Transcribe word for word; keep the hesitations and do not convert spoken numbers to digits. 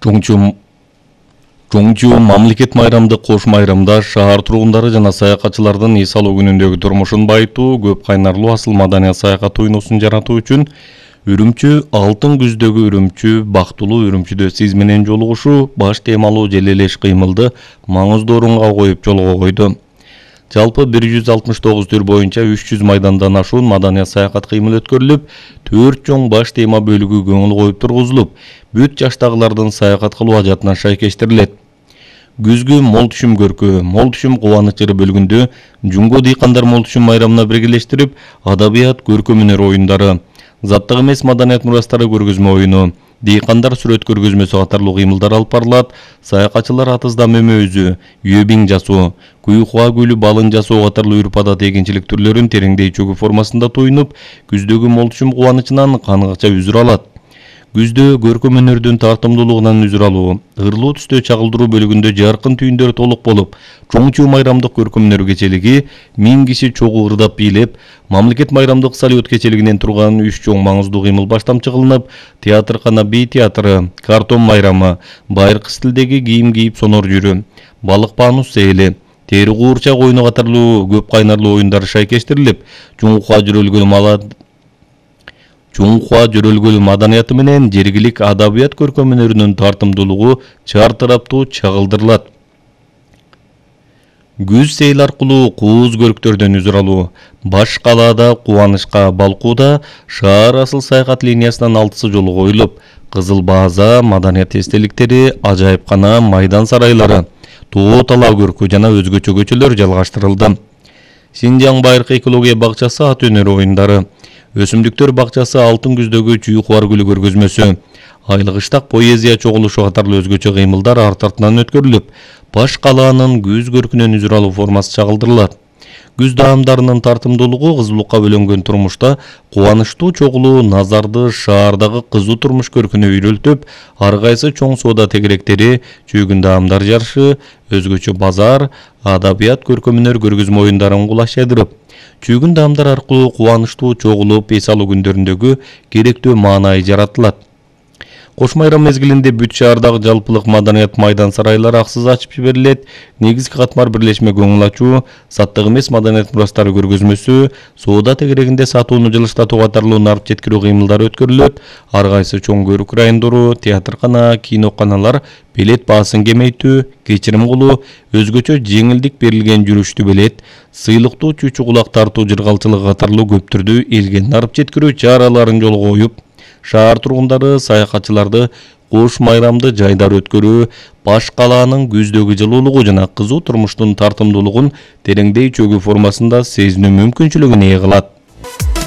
Чоңчу Чоңчу мамлекет майрамды кош майрамда шаар тургундары жана саякатчылардын эс алуу күнүндөгү турмушун байытуу, көп кайнарлуу асыл маданият саякат уюнусун жаратуу үчүн Үрүмчү алтын күздөгү үрүмчү, бактылуу үрүмчүдө сиз менен жолугушуу баш темалуу желелеш кыймылды маңыздуу орунга коюп жолго койду. Жалпы бир жүз алтымыш тогуз төр боюнча үч жүз майдандан ашуун маданият саякат кыймыл өткөрүлүп, төрт чоң баш тема бөлүгү көңүл коюп тургузулуп, бүт жаштагылардын саякат кылуу ажатына шайкештирилет. Күзгү мол түшүм көркү, мол түшүм кубанычы бөлгүндө Жумго дыйкандар мол түшүм майрамына биргелештирип, адабият көркөм өнөр оюндары, заттык эмес маданият мурастары көргөзмө оюну, дыйкандар сүрөт көргөзмөсү катарлуу кыймылдар алып барылат. Саякатчылар атызда мөмө-өзү, үйөбиң жасоо, куюкуа гүлү балын жасоо катарлуу үрп-адат эгинчилик түрлөрүн тереңдей чөгү формасында туйнуп, күздөгү мол түшүм кубанычынан каныкча үзүр алат. Күздө көркөм өнөрдүн тартымдуулугунан үзүр алуу, ырлуу түстө чагылдыруу бөлүгүндө жаркын түйүндөр толук болуп, Чоңчу майрамдык көркөм өнөр кечелиги миң киши чогуу ырдап бийлеп, мамлекет майрамдык салют кечелигинен турган үч чоң маңыздуу кыймыл баштамчы кылынып, театркана би театры, картон майрамы, байыркы стилдеги кийим кийип сонор жүрү, балык панус сейли, тери куурчак оюну катарлуу көп кайнарлуу оюндар шайкештирилип, Чуңкуа жүрөлгөн мала Чуңкуа жүрөлгөл маданияты менен жергилик адабият көркөм өнөрүнүн тартымдуулугу чартыраптуу чагылдырылат. Күз сейл аркылуу кууз көрктөрдөн үзүр алуу, баш калаада Кубанычка Балкууда шаар асыл саякат линиясынан алтысы жолу коюлуп, Кызыл Бааза маданият эстеликтери, ажайыпкана, майдан сарайлары, Тоо Талаа көркү жана өзгөчө көчөлөр жалгаштырылды. Синжаң байыркы экология бакчасы ат өнөрү оюндары, Өсүмдүктөр бакчасы алтын күздөгү чүйкуар гүлү көргөзмөсү, айлык-ыштак поэзия чогулушу катарлуу өзгөчө кыймылдар арт артынан өткөрүлүп, баш калаанын күз көркүнөн үзүр алуу формасы чагылдырылат. Күз даамдарынын тартымдуулугу кызуулукка бөлөнгөн турмушта кубанычтуу чогулуу назарды шаардагы кызуу турмуш көркүнө үйрөлтүп, ар кайсы чоң соода тегеректери, чөгүн даамдар жарышы, өзгөчө базар, адабият көркөм өнөр көргөзмө оюндарын кулаш жайдырып, чөгүн даамдар аркылуу кубанычтуу чогулуп эс алуу күндөрүндөгү керектүү маанай жаратылат. Кош майрам мезгилинде бүт шаардагы жалпылык маданият майдан сарайлары аксыз ачып жиберилет. Негизги катмар бирлешме көңүл ачуу, саттык эмес маданият мурастары көргөзмөсү, соода тегерегинде сатууну жылыштатуу катарлуу нарып жеткирүү кыймылдары өткөрүлөт. Ар кайсы чоң көрүк райондору, театркана, киноканалар билет баасын кемейтүү, кечирим кылуу, өзгөчө жеңилдик берилген жүрүштү билет, сыйлыктуу чүчү кулак тартуу жыргалчылыгы катарлуу көп түрдүү элге нарып жеткирүү чараларын жолго коюп, шаар тургундары, саякатчыларды кош майрамды жайдар өткөрүү, баш калаанын күздөгү жылуулугу жана кызуу турмуштун тартымдуулугун тереңдей чөгүү формасында сезинүү мүмкүнчүлүгүн ээ кылат.